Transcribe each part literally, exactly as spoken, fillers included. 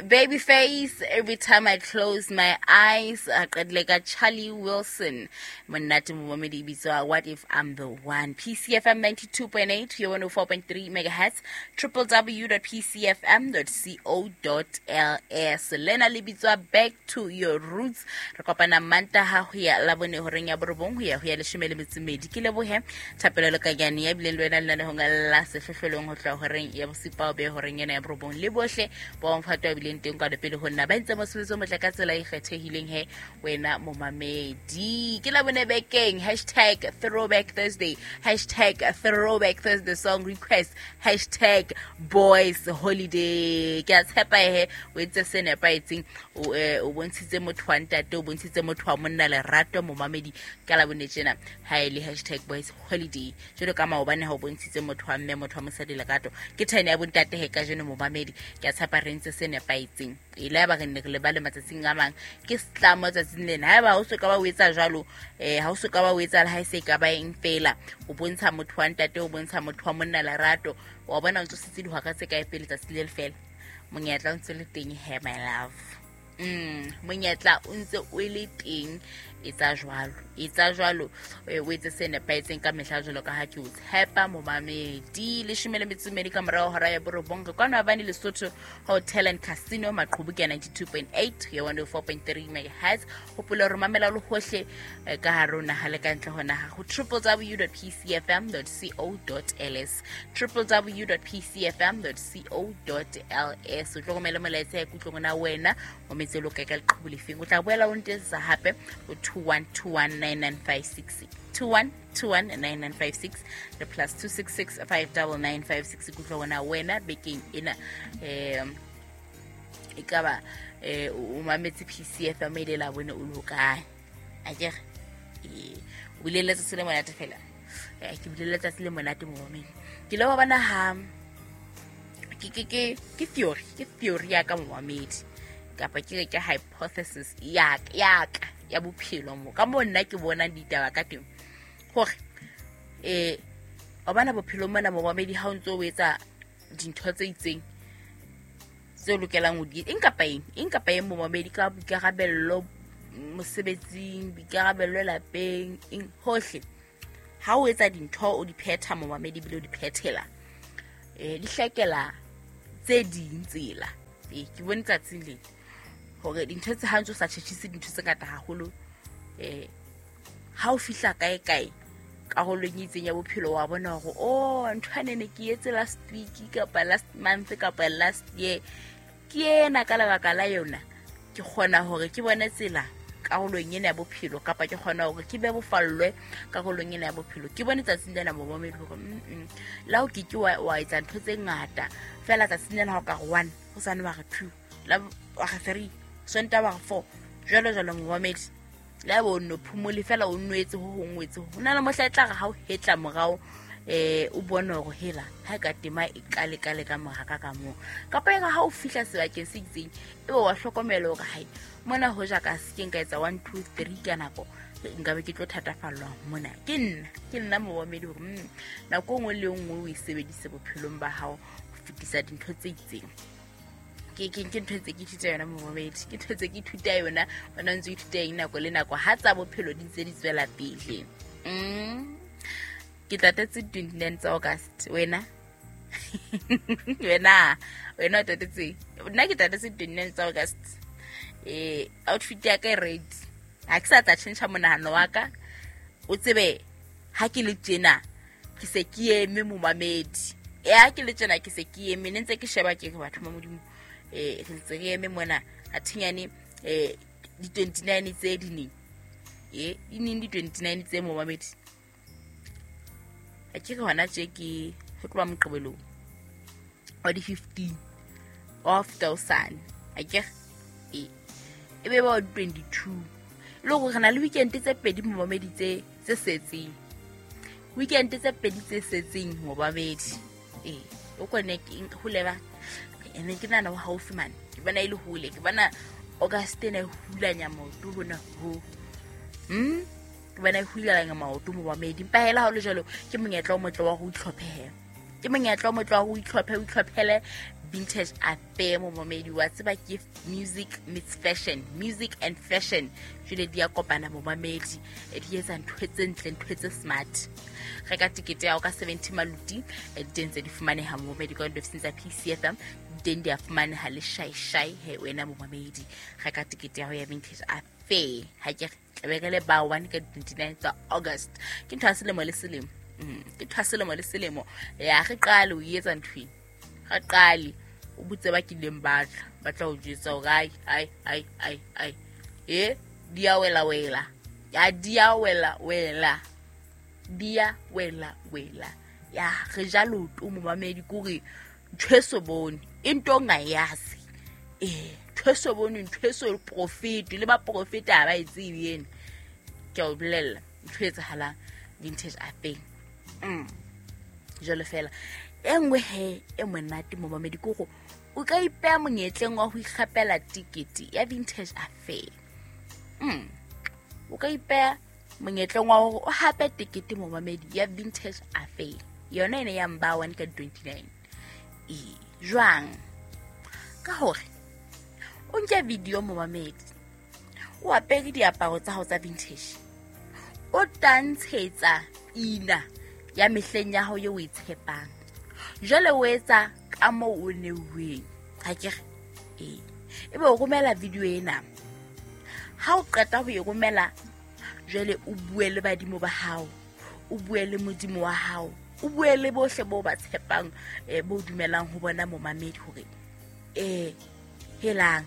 Babyface, Every Time I Close My Eyes, a qedile ka Charlie Wilson, monate momamedi, bitswa What If I'm the One. P C F M ninety-two point eight, one oh four point three megahertz, w w w dot p c f m dot co dot l s. Lena le bitswa Back to Your Roots. Re kopana Mantaha ho ya Labone horeng ya borobong ho ya ho ya leshome le metso e mmedi. Ke lebohe thapelo le kanyane ya bileng le wena lenanehong la sehlohlolong ho tloha horeng ya bosupa ho be horeng ena ya borobong. Le bohle ba mophato wa bileng teng kwa pele ho nna ba ntse mosebetsi o motle ka tsela e kgethehileng he wena momamedi. Ke Labone bekeng, hashtag Throwback Thursday, hashtag Throwback Thursday song request, hashtag Boys Holiday. Ke a tshepa he o entse se nepahetseng, o o bontshitse motho wa ntate, o bontshitse motho wa monna lerato momamedi ka Labone tjena ha e le hashtag Boys Holiday. Jwalo ka maobane ha o bontshitse motho wa mme, motho wa mosadi lerato, ke thene ya bontate he kajeno momamedi. Ke a tshepa re ntse se nepahetseng. E le ba re ne re lebale matsatsing a mang, ke setlamo tsatsing lena. Haeba o so ka ba o etsa jwalo, eh ha o so ka ba o etsa le ha e se ka ba eng fela, o bontsha motho wa ntate, o bontsha motho wa monna lerato, wa bona o ntse o setse dihora tse kae pele tsatsi le le fela. Monyetla o ntse le teng he my love. Mm, monyetla o ntse o le teng, etsa jwalo, etsa jwalo, o etse se nepahetseng ka mehla jwalo ka ha ke o tshepa momamedi. Leshome le metso e mmedi ka morao hora ya borobong, re kwano Abane Lesotho Hotel and Casino, Maqhubu ke ninety-two point eight ya one oh four point three megahertz. Hopola hore mamela le hohle ka hare ho naha le ka ntle ho naha ho w w w dot p c f m dot co dot l s, w w w dot p c f m dot co dot l s. O tlo romela molaetsa ya kutlong na wena o metse lo kae ka leqhubu lefeng. O tla boela o ntetsa hape o two one two one nine nine five six, two one two one nine nine five six, le plus two six six five nine nine five six. Kutlwa wena wena bekeng ena eh e ka ba eh o mametse P C F M ile la bone o lo kae akere eh o bile letsatsi le monate fela. Eh ke bile letsatsi le monate mo momeng. Ke le wa bona ha ke ke ke ke theory, ke theory ya ka momamedi, kapa ke re ke hypothesis ya ya ka ya bophelo mo ka mo nna ke bona ditaba ka teng hore eh o bana bophelo mona momamedi ha o ntso o etsa dintho tse itseng tse o lokelang ho di eng kapa eng, eng kapa eng momamedi, ka boikarabello mosebetsing, boikarabello lapeng, eng hohle, ha o etsa dintho o di phetha momamedi bile o di phethela eh di hlakela tse ding tsela. Eh ke bone tsatsing le hore dintho tse ha ntse o sa tjhetjhise dintho tse ngata haholo, eh ha o fihla kae kae karolong e itseng ya bophelo wa bona hore oh ntho ane ne ke etse last week kapa last month kapa last year, ke ena ka lebaka la yona ke kgona hore ke bone tsela karolong ena ya bophelo, kapa ke kgona hore ke be bofallwe karolong ena ya bophelo. Ke bone tsatsing lena momamedi hore mm la o ke ke wa wa etsa ntho tse ngata fela tsatsing lena ha o ka re one ho sane wa re two la wa re three sonta wa re four jwalo jwalo momamedi. La bo no phumole fela o nwetse ho hong wetse ho na le mohla e tla re ha o hetla morao eh o bone hore hela ha ka tema e kale kale ka mora ka ka moo, kapa e re ha o fihla sebakeng se itseng e be wa hlokomela hore hai mona ho ja ka se ke nka etsa one two three ka nako nka be ke tlo thatafallwa mona. Ke nna ke nna momamedi hore mm nako e nngwe le e nngwe o e sebedise bophelong ba hao ho fetisa dintho tse itseng. Ke ke ke ntho tse ke ithuta yona momamedi, ke ntho tse ke ithuta yona wena o ntse o ithuta eng nako le nako ha tsa bophelo di ntse di tswela pele. Mm ke tatetse twenty-nine tsa August wena wena wena o tatetse, nna ke tatetse twenty-nine tsa August. Eh outfit ya ka e ready, ha ke sa tla tjhentjha monahano wa ka, o tsebe ha ke le tjena ke se ke eme momamedi. Eh ha ke le tjena ke se ke eme, ne ntse ke sheba ke re batho ba Modimo eh re ntse re eme mona a thinyane eh di twenty-nine tse di neng eh di neng di twenty-nine tse momamedi. A ke re hona tje ke ho tloha Moqebelong wa di fifteen of thousand a ke e e be ba twenty-two le hore re na le weekend tse pedi momamedi tse tse setseng, weekend tse pedi tse setseng momamedi. Eh o kone ke ho leba ene ke nana ho haufi mane, ke bona e le hole, ke bona August ena e hulanya maoto hona ho mm ke bona e hulanya maoto momamedi. Empa hela ha o le jwalo ke monyetla o motle wa ho itlhopheha, ke Ke monyetla o motle wa ho itlhophe o itlhophele Vintage Affair momamedi wa tseba ke music meets fashion, music and fashion. Jwale di a kopana momamedi, di etsa ntho tse ntle, ntho tse smart. Reka tikete ya hao ka seventy maluti, di teng tse di fumaneha momamedi ka diofising tsa P C F M, di teng di a fumaneha le shai shai he wena momamedi. Reka tikete ya hao ya Vintage Affair. Ha ke re tlabe re le ba one ka twenty-nine tsa August. Ke ntho ya selemo le selemo. Mm, ke ntho ya selemo le selemo. Ya re qale o etsa ntho ena. Re qale o botse ba kileng ba tla, ba tla o jwetsa hore ai, ai, ai, ai, ai. E di a wela wela. Ya di a wela wela. Di a wela wela. Ya re ja leoto momamedi ke hore ntho e so bone, e nto o ngayazi. Eh, ntho e so bone, ntho e so profit, le ba profit ha ba e tsebe ena. Ke a o bolella ntho e etsahalang Vintage Affair. Mm. Jwalo fela. E nngwe he e monate momamedi ke hore o ka ipeha monyetleng wa ho ikgapela tikete ya Vintage Affair. Mm. O ka ipeha monyetleng wa hore o hape tikete momamedi ya Vintage Affair. Yona ene ya mba one ka twenty-nine. E jwang? Ka hore o nke video momamedi, o apere diaparo tsa hao tsa vintage, o tantshetsa ina ya mehleng ya hao eo o e tshepang. Jwale o etsa ka moo o neuweng. Ha ke re? Ee. Ebe o romela video ena. Ha o qeta ho e romela, jwale o bue le badimo ba hao, o bue le modimo wa hao, o bue le bohle bo ba tshepang, eh, bo dumelang ho bona momamedi hore, eh, helang,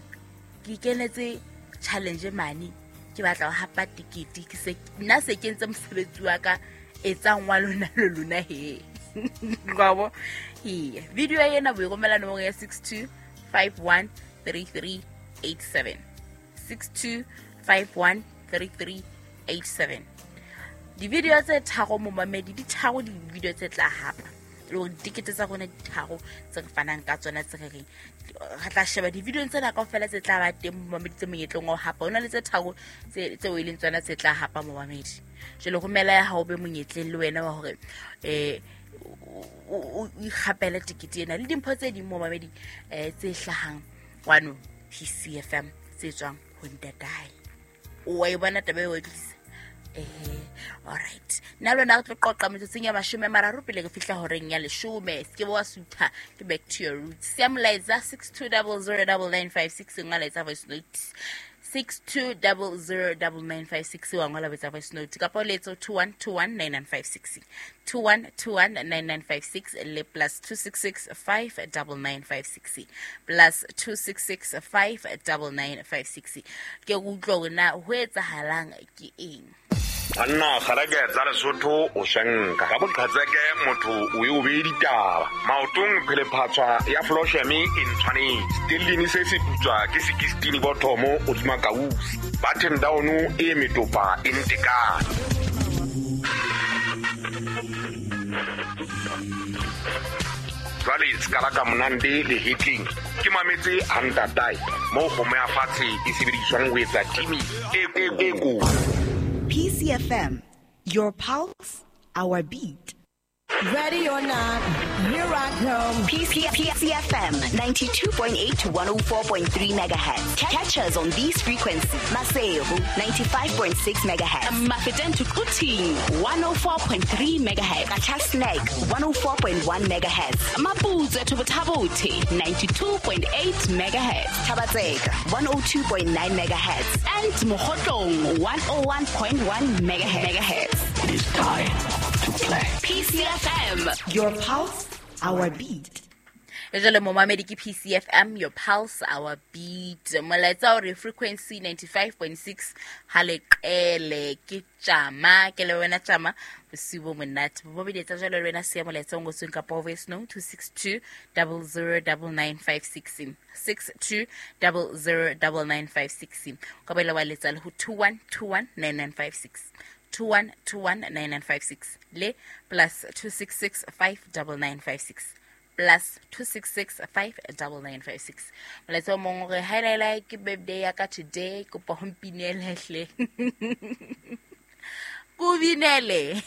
ke ikenetse challenge mane, ke batla ho hapa tikete, ke se, nna se ke entse mosebetsi wa ka, etsang wa lona le lona he. Ngwabo. Ee. Video ena bo e romela nomoro ya six two five one three three eight seven. six two five one three three eight seven. Di-video tse tharo momamedi, di tharo di-video tse tla hapa. Le hore ditikete tsa rona di tharo tse re fanang ka tsona tse re reng. Re tla sheba di-video tsena kaofela tse tla ba teng momamedi tse monyetleng wa ho hapa. Ho na le tse tharo tse, tseo e leng tsona tse tla hapa momamedi. Jwale romela ya hao be monyetleng le wena wa hore, eh, o, o ikgapele tikete ena le dimpho tse ding momamedi, eh, tse hlahang kwano P C F M tse tswang ho ntatae. O wa e bona taba eo e tlisa? Eh, all right. Nna le wena re tlo qoqa metsotsong ya mashome a mararo pele re fihla horeng ya leshome. Se ke wa sutha, ke back to your roots. Siya molaetsa six two double zero double nine five six, ngola etsa voice note. six two double zero double nine five six, wa ngola etsa voice note. Kapa o letsa two one two one nine nine five six. two one two one nine nine five six le plus two six six five double nine five six. Plus two six six five double nine five six. Ke utlwa hore na ho etsahalang ke eng. Banna kgareke tsa Lesotho o shanka ka boqhetseke motho o e o be ditaba maotong phelephatswa ya Flosheme e ntshwanetse stellini se se putswa ke sixteen bottomo o dima kausi button down e metopa e ntekane. Jwale skala ka monande le hitling ke mametse hantatai mo kgomo ya fatshe e sebediswang ho etsa timi e e ko. P C F M, your pulse, our beat. Ready or not, here I come. P C F M ninety-two point eight to one oh four point three megahertz. Catch us on these frequencies. Maseru ninety-five point six megahertz. Mafeteng to Quthing one oh four point three megahertz. Qacha's Nek one oh four point one megahertz. Maputsoe to Botha-Bothe ninety-two point eight megahertz. Thaba-Tseka one oh two point nine megahertz. And Mokhotlong one oh one point one megahertz. It is time to play. P C F M, your pulse, our beat. Jwale momamedi ke P C F M, your pulse, our beat. Molaetsa o re frequency ninety-five point six ha leqele ke tjama, ke le wena tjama bosiu bo monate. Momamedi etsa jwale le wena siya molaetsa o ngotsweng kapa voice note two six two double zero double nine five six. six two double zero double nine five six. Ka boela wa letsa le ho two one two one nine nine five six. two one two one nine nine five six le plus two six six five double nine five six plus two six six five double nine five six. Molaetsa o mong o re hi lai ke birthday ya ka today, kopa ho mpinele hle. Ko binele.